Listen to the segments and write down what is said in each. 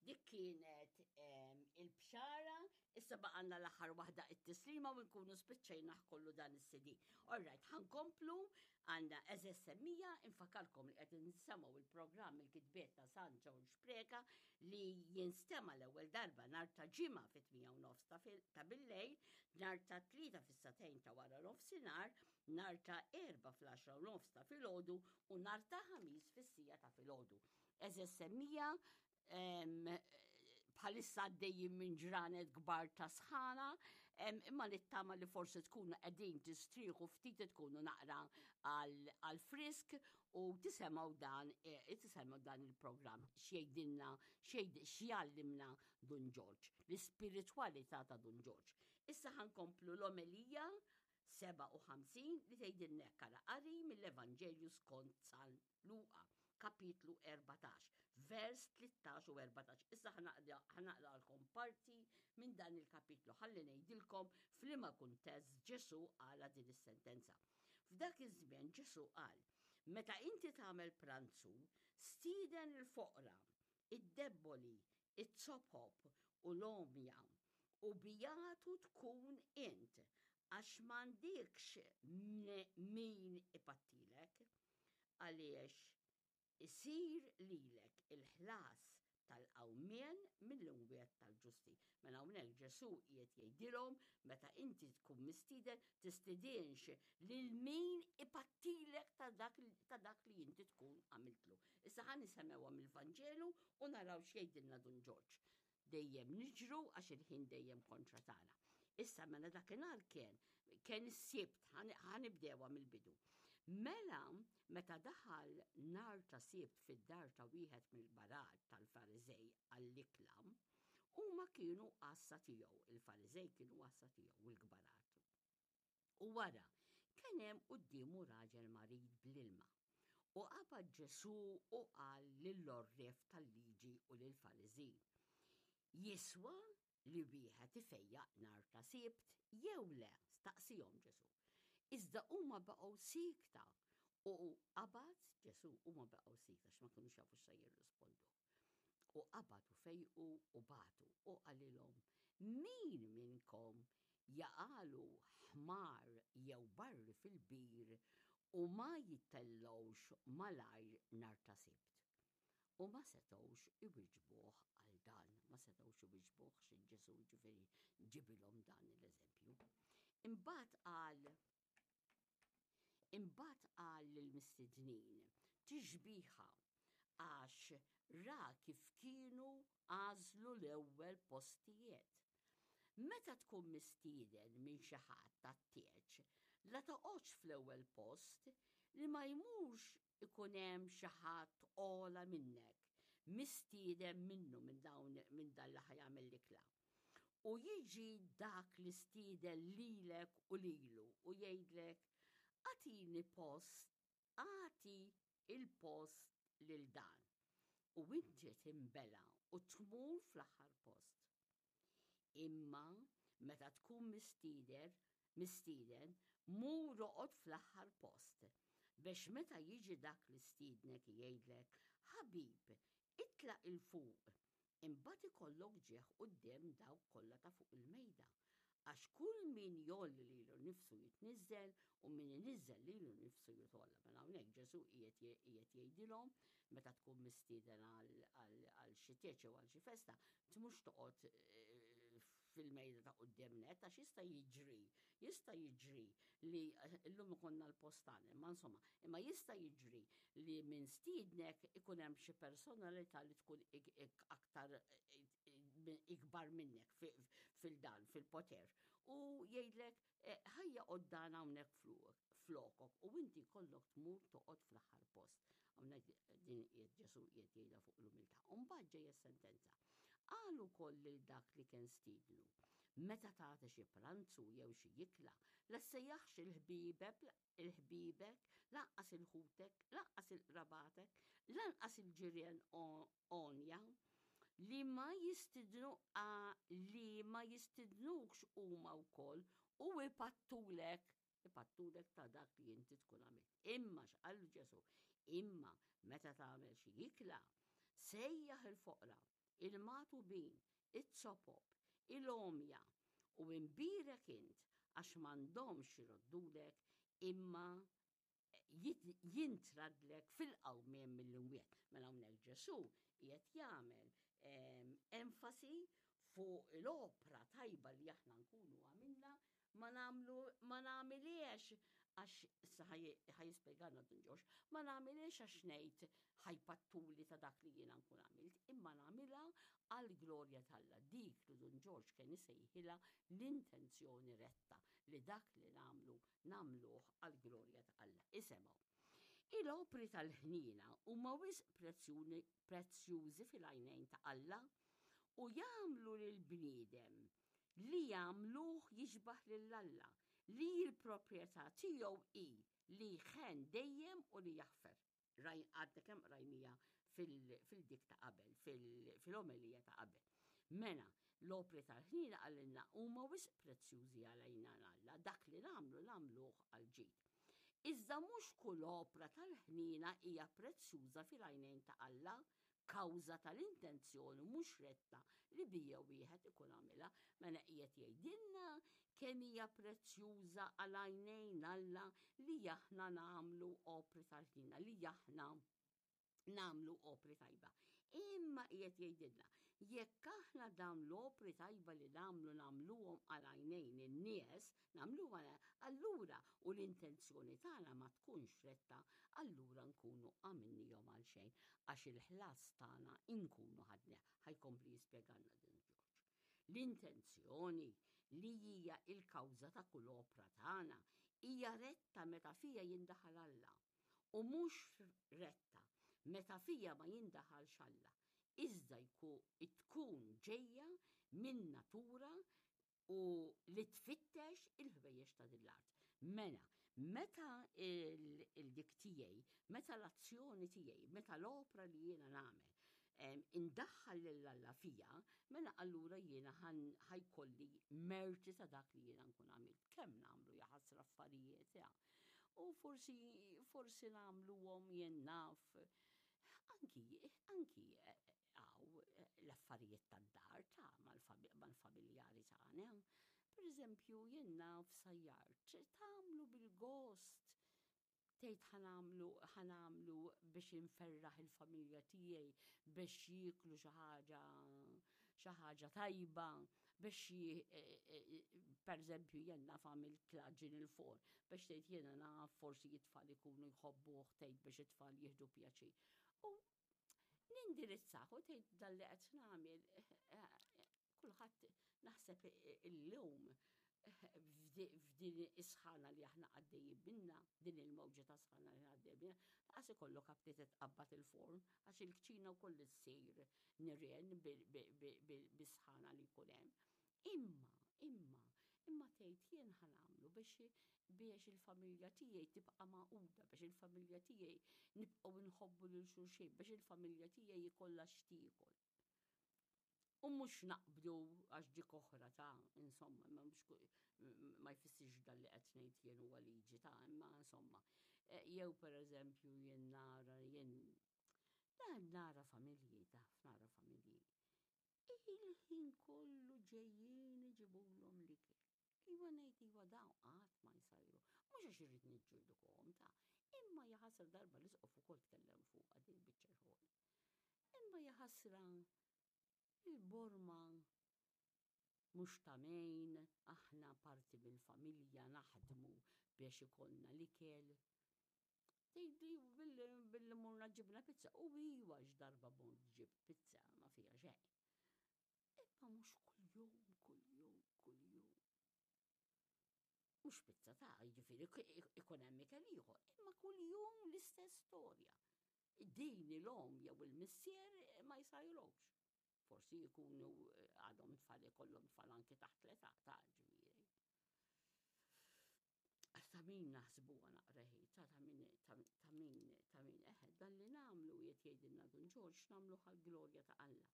Dik kienet il-bxara, issa baqanna l-aħħar waħda it-tislima u nkunu spiċċejna kollu dan is-CD. Alright, ħankomplu għandna eżess semmija, infakalkom li qed nsemgħu il-programm il-kitbiet ta' San Ġorġ Preka li jinstema l-ewwel darba nhar ta' ġimgħa fit-8 u nofs ta' billejl, nhar ta' tlieta fis-satejn ta' wara nofsinhar, nhar ta' erba' fl-10 u nofs ta' filgħodu u nhar ta' ħamis fis-sija ta' filgħodu. Eżess semmija, bħalissa għaddejjin minn ġranet kbar ta' sħana, imma nittama li forsi tkunu qegħdin tistrieħu ftit tkunu naqra għal frisk u tisemgħu dan e, tisemgħu dan il-programm x'jgħidilna x'jgħallimna Dun Ġorġ, l-ispiritwalità ta' Dun Ġorġ. Issa ħankomplu l-omelija 57 li tgħidilna hekk ara qari mill-Evanġelju skont San Luqa, kapitlu 14, vers 13 u 14. Issa ħanaqralkom parti minn dan il-kapitlu ħalli ngħidilkom f'liema kuntest Ġesù qala din is-sentenza. F'dak iż-żmien Ġesù qal, meta inti tagħmel pranzu, stieden il-foqra, id-debboli, it-zopop u l-għomja, u bijatu tkun int, għax m'għandikx min ipattilek. Għaliex isir lilek il-ħlas tal-qawmien mill-imwiet tal-ġusti. Mela hawnhekk Ġesù qiegħed jgħidilhom meta inti tkun mistieden tistidinx lil min ipattilek ta' dak, ta dak li inti tkun għamiltlu. Issa ħa nisemgħuha mill-Vanġelu u naraw x'jgħidilna Dun Ġorġ. Dejjem niġru għax il-ħin dejjem kontra tagħna. Issa mela dakinhar kien kien is-sibt ħanibdewha mill-bidu. Mela meta daħal nar ta' sibt fid-dar ta' wieħed mill-barat tal-Fariżej għall-ikla, huma kienu għassa tiegħu, il-Fariżej kienu għassa tiegħu u l-kbarat. U wara, kien hemm quddiemu raġel marid bl-ilma. U qabad Ġesù u qal lill-għorrief tal-liġi u lill-Fariżin, Jiswa li wieħed ifejjaq nhar ta' Sibt jew le? Staqsihom Ġesù. Iżda huma baqgħu siekta u qabad Ġesù huma baqgħu siekta x'ma kinux jafu x'se jirrispondu. U qabad u fejqu u bagħtu u qalilhom, Min minnkom jaqagħlu ħmar jew barri fil-bir u ma jitellgħux malajr nhar ta' Sibt? U ma setgħux iwiġbuh għal dan, ma setgħux iwiġbuh xi Ġesù ġifieri ġibilhom dan l-eżempju. Imbagħad qal Imbagħad qal lill-mistednin, tixbiha għax ra kif kienu għażlu l-ewwel postijiet. Meta tkun mistieden minn xi ħadd għat-tieġ, la toqgħodx fl-ewwel post li ma jmurx ikun hemm xi ħadd ogħla minnek, mistieden minnu minn dawn minn dan li ħa jagħmel l-ikla. U jiġi dak li stieden lilek u lilu u jgħidlek, agħtini post, agħti il-post lil dan. U inti tinbela' u tmur fl-aħħar post. Imma meta tkun mistieder, mistieden, mur oqgħod fl-aħħar post, biex meta jiġi dak li stiednek jgħidlek, 'Ħabib, itla' 'il fuq', imbagħad ikollok ġieħ quddiem dawk kollha ta' fuq il-mejda. Għax kull min jgħolli lilu nnifsu jitniżżel u min iniżżel lilu nnifsu jitgħolla. Mela hawnhekk Ġesù qiegħed jgħidilhom meta tkun mistieden għal xi tieġ jew għal xi festa, tmux toqgħod eh, fil-mejda ta' quddiem net għax jista' jiġri, jista' jiġri li eh, llum ikonna l-postan, imma insomma, imma jista' jiġri li minn stiednek ikun hemm xi personalità li tkun aktar eh, ikbar minnek fil-dan, fil-poter. U jgħidlek, eh, ħajja qoddan hawnhekk flokok u inti kollok tmur toqgħod fl-aħħar post. Hawnhekk din qiegħed Ġesu qiegħed jgħidha fuq l-umiltà. U mbagħad ġejja sentenza. Qal ukoll lil dak li kien stidnu. Meta tagħti xi pranzu jew xi jikla, la sejjaħx il-ħbiebek il-ħbibek, lanqas il-ħutek, lanqas il-qrabatek, lanqas il-ġirien għonja, li ma jistidnu li ma jistidnukx huma wkoll u ipattulek ipattulek ta' dak li inti tkun għamilt. Imma x'qal Ġesu, imma meta tagħmel xi ikla, sejjaħ il-foqra. il-magħtubin, iz-zopop, il-għomja, u imbierek int għax m'għandhomx iroddulek imma jintraddlek fil-qawmien mill-imwiet. Mela hawnhekk Ġesù qiegħed jagħmel enfasi fuq l-opra tajba li aħna nkunu għamilna ma nagħmlu ma nagħmiliex għax issa ħa jispjegalna Dun Ġorġ, ma nagħmiliex għax ngħid ħajpattuli ta' dak li jiena nkun għamilt, imma nagħmilha għall-glorja t'Alla, dik li Dun Ġorġ kien isejħilha l-intenzjoni retta, li dak li nagħmlu nagħmluh għall-glorja ta' Alla. Isemgħu. Il-opri tal-ħniena huma wisq prezzjużi fil-għajnejn ta' Alla u jagħmlu lill-bniedem li jagħmluh jixbah lil Alla, li l-proprjetà tiegħu hi li jħenn dejjem u li jaħfer. Raj, għadna kemm qrajnija fil-dik ta' qabel, fil-omelija ta' qabel. Mela, l-opri tal-ħniena qalilna huma wisq prezzjużi għal għajnejn Alla, dak li nagħmlu nagħmluh għall-ġid. Iżda mhux kull opra tal-ħniena hija prezzjuża fil-għajnejn ta' Alla, kawża tal-intenzjoni mhux retta li bija wieħed ikun għamilha. Mela qiegħed jgħidilna kemm hija prezzjuża għal għajnejn Alla li aħna nagħmlu opri tal-ħniena, li aħna nagħmlu opri tajba. Imma qiegħed jgħidilna, jekk aħna dawn l-opri tajba li nagħmlu nagħmluhom għal għajnejn in-nies, nagħmluhom għal allura u l-intenzjoni tagħna ma tkunx retta, allura nkunu għamilnihom għal xejn għax il-ħlas tagħna nkunu ħadnieh. Ħa jkompli jispjegalna Dun Ġorġ. L-intenzjoni li hija l-kawża ta' kull opra tagħna hija retta meta fiha jindaħal Alla u mhux retta meta fiha ma jindaħalx Alla, iżda tkun ġejja minn natura u li tfittex il-ħwejjeġ ta' din l-art. Mela, meta il-dik tiegħi, meta l-azzjoni tiegħi, meta l-opra li jiena nagħmel indaħħal lil Alla fija, mela allura jiena ħajkolli merti ta' dak li jiena nkun għamilt. Kemm nagħmlu jaħasra affarijiet, ja. U forsi forsi nagħmluhom jien naf anki anki Hawn l-affarijiet tad-dar ta' mal-familjari tagħna. Per eżempju, jien naf sajjart, tagħmlu bil-gost tgħid ħanamlu ħanamlu biex inferraħ il-familja tiegħi biex jieklu xi ħaġa xi ħaġa tajba biex e, e, e, per eżempju jien naf għamilt klaġin il-forn biex tgħid jiena naf forsi it-tfal ikunu jħobbuh tgħid biex it-tfal jieħdu pjaċir. U Nindirizzah u tgħid dan li qed nagħmel kulħadd naħseb illum f'din is-sħana li aħna għaddejjin minna, din il-mewġa ta' sħana li għaddejjin minna, laqas ikollok aptit tqabbad il-forn għax il-kċina wkoll issir nirien bis-sħana li jkun hemm. Imma, imma, imma tgħid jien ħa nagħmlu biex biex il-familja tiegħi tibqa' magħquda, biex il-familja tiegħi nibqgħu nħobbu lil xulxin, biex il-familja tiegħi jkollha x'tiekol. U mhux naqbdu għax dik oħra ta' insomma, ma mhux ma jfissirx dan li qed ngħid jien huwa liġi ta' imma insomma. E, jew pereżempju jien nara jien nara familji taf nara familji Il-ħin kollu ġejjin iġibulhom l-ikel. Iva ngħid iva dawn qatt ma jsajru. Mhux għax irrid niġġudikahom ta' imma jaħasra darba l-isqof ukoll tkellem fuqha din biċċa xogħol. Imma jaħasra il-borma mhux ta' mejn, aħna parti mill-familja naħdmu biex ikollna l-ikel. Tgħidli billi morna ġibna pizza. U iwa x'darba mort ġibt pizza ma fiha xejn. Imma mhux kuljum, kuljum, kuljum. Mhux pizza ta' jiġifieri ikun hemm ikel ieħor, imma kuljum l-istess storja. Din il-omm jew il-missier ma jsajrux. Forsi jkunu għadhom tfal ikollhom tfal anki taħt l-età ta' ġifieri. Ta' min naħsbuha naqra ħi, ta' ta' min, ta' min, ta' min, eħe, dan li nagħmlu qiegħed jgħidilna Dun Ġorġ nagħmluh għall-glorja ta' Alla.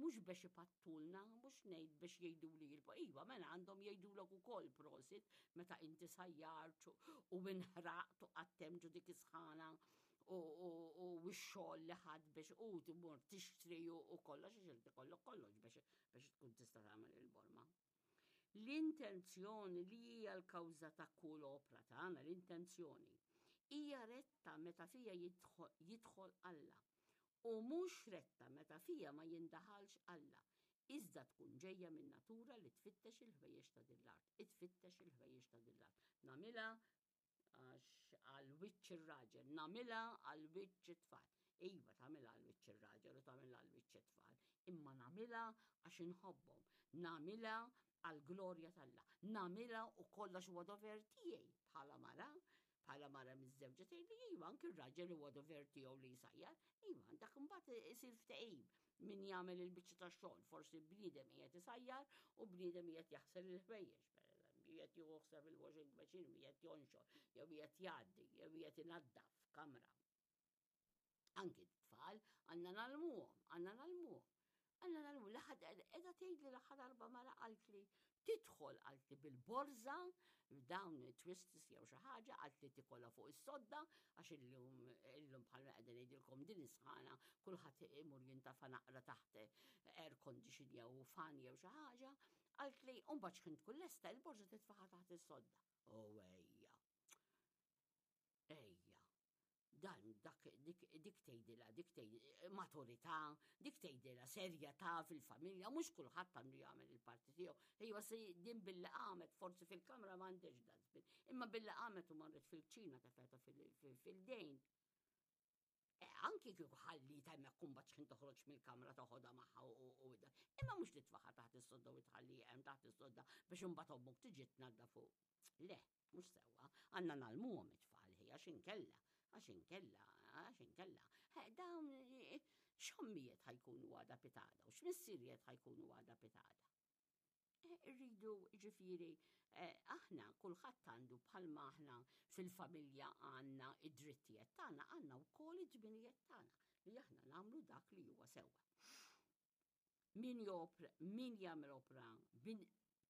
Mhux biex ipattulna, mhux ngħid biex jgħiduli il iva, mela għandhom jgħidulek ukoll prosit meta inti sajjart u inħraqt u qgħadt hemm ġo dik is-sħana. u x-xogħol li ħadd biex u tmur tixtri u kollox għax irid ikollok kollox biex tkun tista' tagħmel il-borma. L-intenzjoni li hija l-kawża ta' kull opra tagħna, l-intenzjoni, hija retta meta fija jidħol Alla u mhux retta meta fija ma jindaħalx Alla, iżda tkun ġejja minn natura li tfittex il-ħwejjeġ ta' din l-art, itfittex il-ħwejjeġ ta' din l-art. Nagħmilha għax għal wiċċ ir-raġel, nagħmilha għal wiċċ it-tfal. Iva, tagħmilha għal wiċċ ir-raġel u tagħmilha għal wiċċ it-tfal, imma nagħmilha għax inħobbhom, nagħmilha għal glorja t'Alla, nagħmilha u kollox huwa dover tiegħi bħala mara, bħala mara miżżewġa tgħidli iva anki r-raġel huwa dover tiegħu li jsajjar, iva dak imbagħad isir ftehim min jagħmel il-biċċa tax-xogħol, forsi bniedem qiegħed isajjar u bniedem qiegħed jaħsel il-ħwejjeġ, pereżempju, qiegħed jieħu ħsieb il-washing machine, qiegħed jonxor, jew qiegħed jgħaddi, jew qiegħed inaddaf kamra. Anki t-tfal għandna nagħlmuhom, għandna nagħlmuhom. Għandna nagħlmu l-aħħar qiegħda tgħidli l-aħħar darba mara qaltli tidħol qaltli bil-borża dawn twists jew xi ħaġa qaltli tikolha fuq is-sodda għax illum illum bħalma qegħdin ngħidilkom din is-sħana kulħadd imur jintafa' naqra taħt air condition jew fan jew xi ħaġa qaltli u mbagħad x'ħin tkun lesta il-borża titfaħha taħt is-sodda. Oh ejja. Ejja. Dan, dak, dik, dik tgħidilha, dik tgħid maturità, dik tgħidilha serjetà fil-familja, mhux kulħadd għandu jagħmel il-parti tiegħu. Ejwa se din billi qamet forsi fil-kamra m'għandix dustbin, imma billi qamet u marret fil-kċina tefgħetha fil-dejn. E, anki kieku ħallita hemmhekk kumbat x'ħin toħroġ mill-kamra toħodha magħha u Imma mhux titfaħha taħt is-sodda u tħalli hemm taħt is-sodda biex imbagħad ommok tiġi tnadda fuq. Le, mhux sewwa, għandna nagħlmuhom it-tfal ħi għax inkella, għax inkella, għax inkella. Dawn x'ommijiet ħajkunu għada pitada u x'missirijiet ħajkunu għada pitada. Irridu ġifieri aħna kulħadd għandu bħalma aħna fil-familja għandna id-drittijiet tagħna, għandna wkoll id-dmirijiet tagħna li aħna nagħmlu dak li huwa sewwa. Min jopra, min jagħmel opra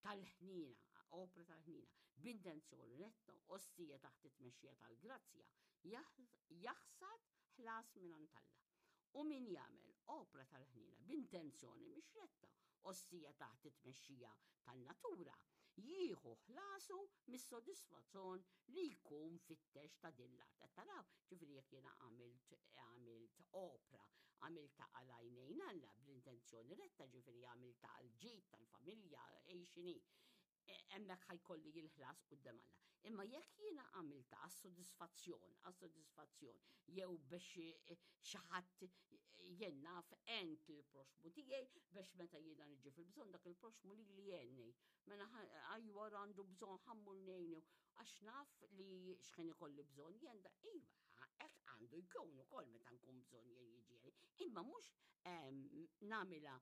tal-ħniena, opra tal-ħniena, b'intenzjoni retta, ossija taħt it-tmexxija tal-grazzja, jaħsad ħlas mingħand Alla. U min jagħmel opra tal-ħniena b'intenzjoni mhix retta, ossija taħt it-tmexxija tan-natura, jieħu ħlasu mis-sodisfazzjon li jkun fittex ta' din l-art. Qed taraw, ġifieri jekk jiena għamilt għamilt opra, għamiltha għal għajnejn Alla bl-intenzjoni retta, ġifieri għamiltha għal ġid tal-familja, ej x'inhi. E, hemmhekk ħajkolli l-ħlas quddiem Alla. Imma jekk jiena għamiltha għas-sodisfazzjon, għas-sodisfazzjon, jew biex e, xi ħadd jien naf għent il-proxmu tiegħi biex meta jiena niġi fil-bżonn dak il-proxmu li li jgħinni. Mela ajwa għandu bżonn ħammur ngħinu għax naf li x'ħin ikolli bżonn jien da iva, hekk għandu jkun ukoll meta nkun bżonn jien jiġi Imma mhux ehm, nagħmilha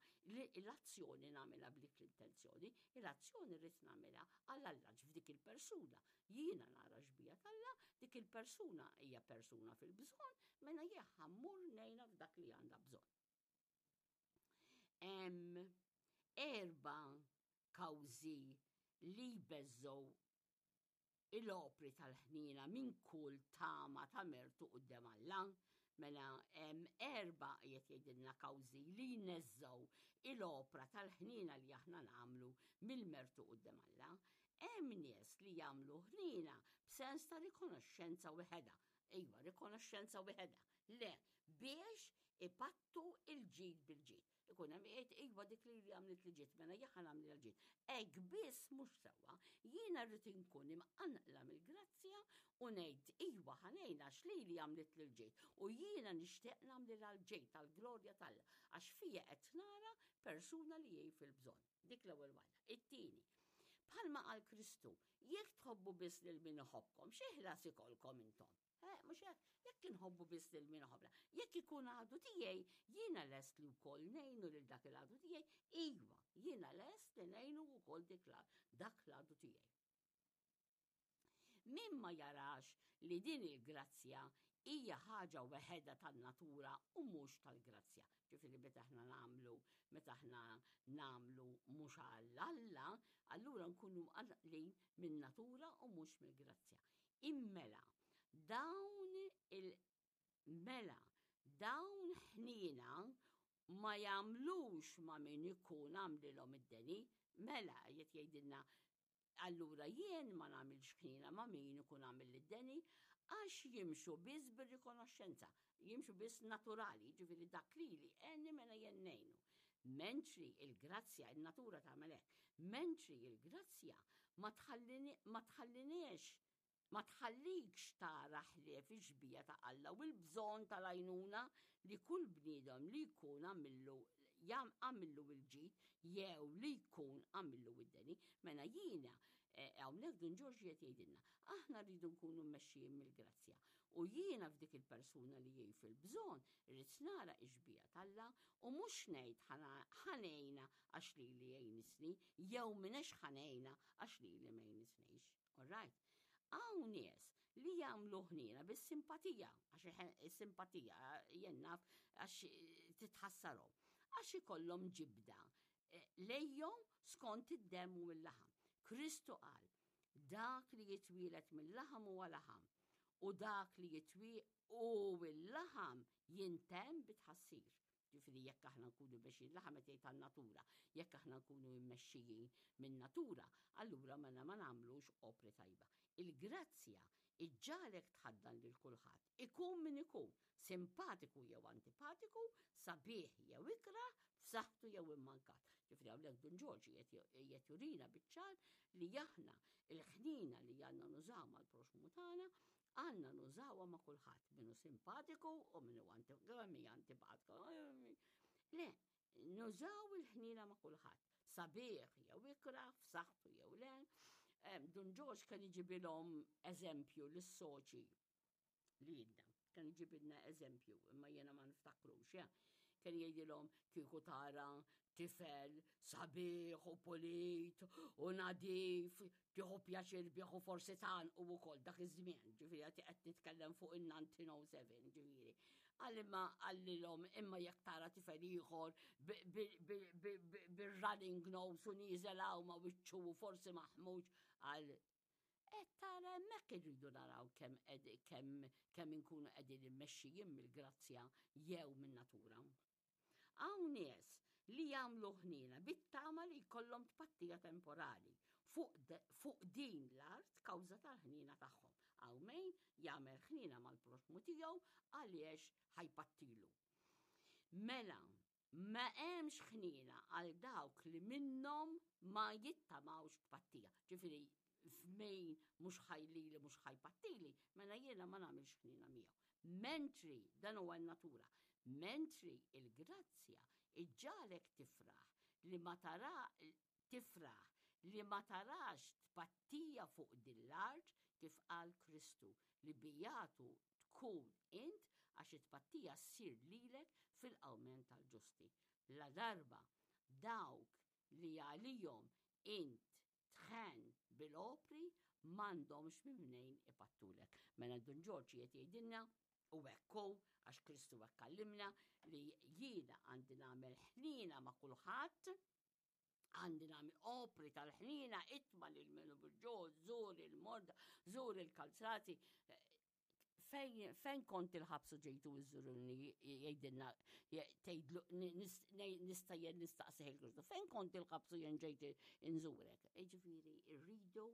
l-azzjoni nagħmilha b'dik l-intenzjoni, l-azzjoni rrid nagħmilha għal Alla f'dik il-persuna. Jiena nara xbija t'Alla, dik il-persuna hija persuna fil-bżonn, mela jien ħammur ngħinha f'dak li għandha bżonn. Hemm erba' kawżi li jbeżżgħu il-opri tal-ħniena minn kull tama ta' mertu quddiem Alla. Mela hemm erba' qiegħed jgħidilna kawżi li jneżżgħu il-opra tal-ħniena li aħna nagħmlu mill-mertu quddiem Alla. Hemm nies li jagħmlu ħniena b'sens ta' rikonoxxenza wieħedha. Iva, rikonoxxenza wieħedha. Le, biex ipattu il-ġid bil-ġid. Ikun hemm jgħid iva dik li li għamlet li ġiet mela jien nagħmel l-ġid. Hekk biss mhux sewwa. Jiena rrid inkun imqanqla mill-grazzja u ngħid iva ħanejna għax lili għamlet li l-ġid u jiena nixtieq nagħmlilha l-ġid tal-glorja t'Alla għax fija qed nara persuna li hi fil-bżonn. Dik l-ewwel waħda. It-tieni, bħalma qal Kristu, jekk tħobbu biss lil min iħobbkom, xi ħlas ikollkom intom? Eh, mhux hekk, jekk inħobbu biss lil min iħobbna, jekk ikun għadu tiegħi, jiena lest li wkoll ngħinu lil dak il-għadu tiegħi, iva, jiena lest li ngħinu wkoll dik dak l-għadu tiegħi. Min ma jarax li din il-grazzja hija ħaġa weħedha tan-natura u mhux tal-grazzja. Ġifieri meta aħna nagħmlu, meta aħna nagħmlu mhux għal Alla, allura nkunu mqanqlin min-natura u mhux mill-grazzja. Immela, dawn il- Mela, dawn ħniena ma jagħmlux ma' min ikun għamlilhom id-deni, mela qed jgħidilna allura jien ma nagħmilx ħniena ma' min ikun għamilli d-deni għax jimxu biss bir-rikonoxxenza, jimxu biss naturali, jiġifieri dak lili għenni mela jien ngħinu. Mentri il-grazzja, in-natura tagħmel hekk, mentri il-grazzja ma tħalliniex Ma tħallikx tara ħlief ix-xbieha ta' Alla u l-bżonn tal-għajnuna li kull bniedem li jkun għamillu għamillu l-ġid jew li jkun għamillu d-deni. Mela jiena hawnhekk Dun Ġorġ qiegħed jgħidilna, aħna rridu nkunu mmexxijin mill-grazzja. U jiena f'dik il-persuna li hi fil-bżonn irrid nara x-xbieha t'Alla u mhux ngħid ħa ngħinha għax lili għinisni jew m'inex ħa ngħinha għax lili m'għinisnix. All right. Hawn nies li jagħmlu ħniena bis-simpatija, għax is-simpatija jien naf għax titħassarhom, għax ikollhom ġibda eh, lejhom skont id-demm u l-laħam. Kristu qal, dak li jitwielet mill-laħam huwa laħam, u dak li jitwi u l-laħam jintemm bit-tħassir. Ġifieri jekk aħna nkunu mmexxijin, laħam qed jgħid għan-natura, jekk aħna nkunu mmexxijin min-natura, allura mela ma nagħmlux opri tajba. Il-grazzja iġġagħlek tħaddan lil kulħadd, ikun min ikun, simpatiku jew antipatiku, sabiħ jew ikrah, f'saħħtu jew immankat. Ġifieri hawnhekk Dun Ġorġ qiegħed jurina biċ-ċar li aħna l-ħniena li għandna nużaw mal-proxxmu tagħna Għandna nużawha ma' kulħadd, min hu simpatiku u min hu antipatiku. Le, nużaw il-ħniena ma' kulħadd. Sabiħ jew ikrah, f'saħħtu jew le. Dun Ġorġ kien iġibilhom eżempju lis-soċi li jidna. Kien iġibilna eżempju, imma jiena ma niftakrux, ja. Kien jgħidilhom kieku tara tifel sabiħ u pulit u nadif, tieħu pjaċir bih u forsi tgħannqu wkoll dak iż-żmien, ġifieri qed qed nitkellem fuq in-1907, ġifieri. Qal imma qallilhom imma jekk tara tifel ieħor bir-running nose u nieżel hawn ma' wiċċu u forsi maħmuġ qal qed tara hemmhekk irridu naraw kemm kemm kemm inkunu qegħdin immexxijin mill-grazzja jew min-natura. Hawn nies li jagħmlu ħniena bit-tama li jkollhom tpattija temporali fuq, fuq din l-art kawża tal-ħniena tagħhom. Hawn min jagħmel ħniena mal-proxxmu tiegħu għaliex ħa jpattilu. Mela, ma hemmx ħniena għal dawk li minnhom ma jittamawx tpattija. Ġifieri f'min mhux ħajlili mhux ħajpattili, mela jiena ma nagħmilx ħniena miegħu. Mentri, dan huwa n-natura, mentri il-grazzja iġġagħlek tifraħ li ma tara tifraħ li ma tarax tpattija fuq din l-art kif qal Kristu li bijatu tkun int għax it-tpattija ssir lilek fil-qawmien tal-ġusti. Ladarba dawk li għalihom int tħenn bil-opri m'għandhomx minn mnejn ipattulek. Mela Dun Ġorġ qiegħed jgħidilna u hekk hu għax Kristu hekk għallimna li jiena għandi nagħmel ħniena ma' kulħadd, għandi nagħmel opri tal-ħniena itma' lil min hu bil-ġuħ, żur il-morda, żur il-kalzrati, Fejn, fejn kont il-ħabs u ġejtu iżżuruni jgħidilna tgħidlu nista' jien nistaqsih il-Kristu. Fejn kont il-ħabs u jien ġejt inżurek? Jiġifieri rridu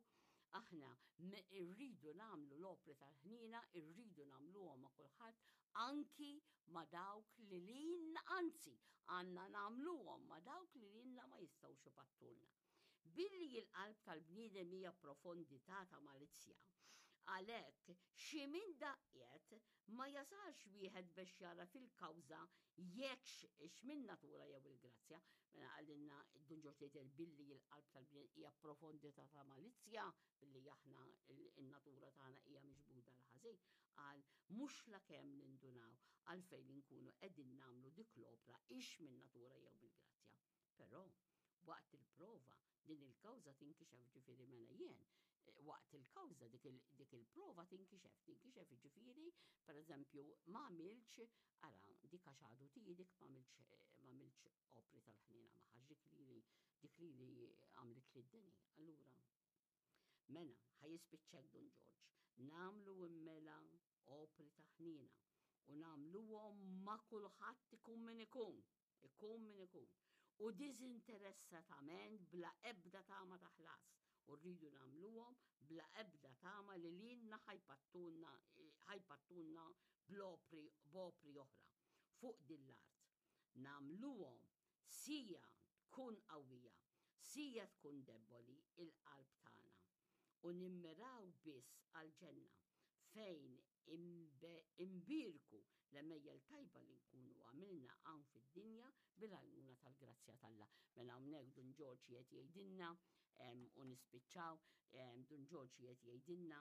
aħna rridu nagħmlu l-opri tal-ħniena, irridu nagħmluhom ma' kulħadd, anki ma' dawk li lilna, anzi, għandna nagħmluhom ma' dawk li lilna ma jistgħux ipattulna. Billi l-qalb tal-bniedem hija profondità ta' malizzja, għalhekk xi minn daqqiet ma jasalx wieħed bex jagħraf il-kawża jekkx hix min-natura jew il-grazzja. Mela qalilna Dun Ġorġ Tejtel billi l-qalb tal-bniedem hija profondità ta' malizzja, billi aħna n-natura tagħna hija miġbuda l-ħażin, qal mhux lakemm nindunaw għalfejn inkunu qegħdin nagħmlu dik l-opra hix min-natura jew mill-grazzja. Però, waqt il-prova, din il-kawża tinkixef ġifieri mela jien, eh, waqt il-kawża dik il-prova tinkixef, tinkixef ġifieri, per eżempju, ma għamilx, ara, dik għax għadu tiegħi dik ma għamilx eh, ma għamilx opri tal-ħniena magħha, dik li dik li li għamlet li d-deni. Allura, mela, ħa jispiċċek Dun Ġorġ, nagħmlu immela opri ta' ħniena. U nagħmluhom ma' kulħadd ikun min ikun, ikun min ikun. U diżinteressatament bla ebda tama ta' ħlas. U rridu nagħmluhom bla ebda tama li lilna ħa jpattulna ħa jpattulna bl-opri b'opri oħra fuq din l-art. Nagħmluhom sija tkun qawwija, sija tkun debboli il-qalb tagħna. U nimmiraw biss għall-ġenna fejn Imbierku l-għemejjel tajba li nkunu għamilna hawn fid-dinja bil-għajnuna tal-grazzja t'Alla. Mela hawnhekk Dun Ġorġ qiegħed jgħidilna u nispiċċaw, Dun Ġorġ qiegħed jgħidilna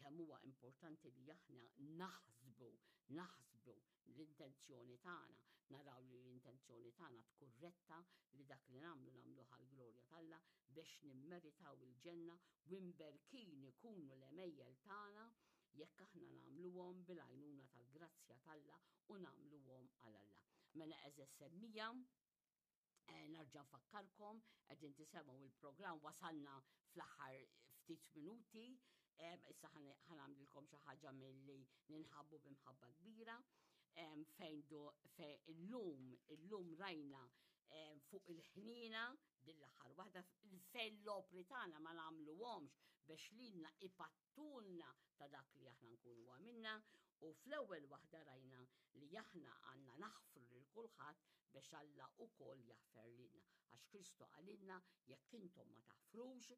kemm huwa importanti li aħna naħsbu, naħsbu l-intenzjoni tagħna, naraw li l-intenzjoni tagħna tkun retta li dak li nagħmlu nagħmluh għall-glorja t'Alla biex nimmeritaw il-ġenna u imberkin ikunu l-għemejjel tagħna jekk aħna nagħmluhom bil-għajnuna tal-grazzja t'Alla u nagħmluhom għal Alla. Mela għeżież semmija, eh, narġa' nfakkarkom qegħdin tisemgħu il-programm wasalna fl-aħħar ftit minuti, eh, issa ħanamlilkom xi ħaġa milli ninħabbu b'imħabba kbira fejn do fejn illum illum rajna fuq il-ħnina din l-aħħar waħda fejn l-opri tagħna ma nagħmluhomx biex lilna ipattulna ta' dak li aħna nkunu għamilna u fl-ewwel waħda rajna li aħna għandna naħfru lil kulħadd biex Alla ukoll jaħfer lilna. Għax Kristu qalilna jekk intom ma taħfrux.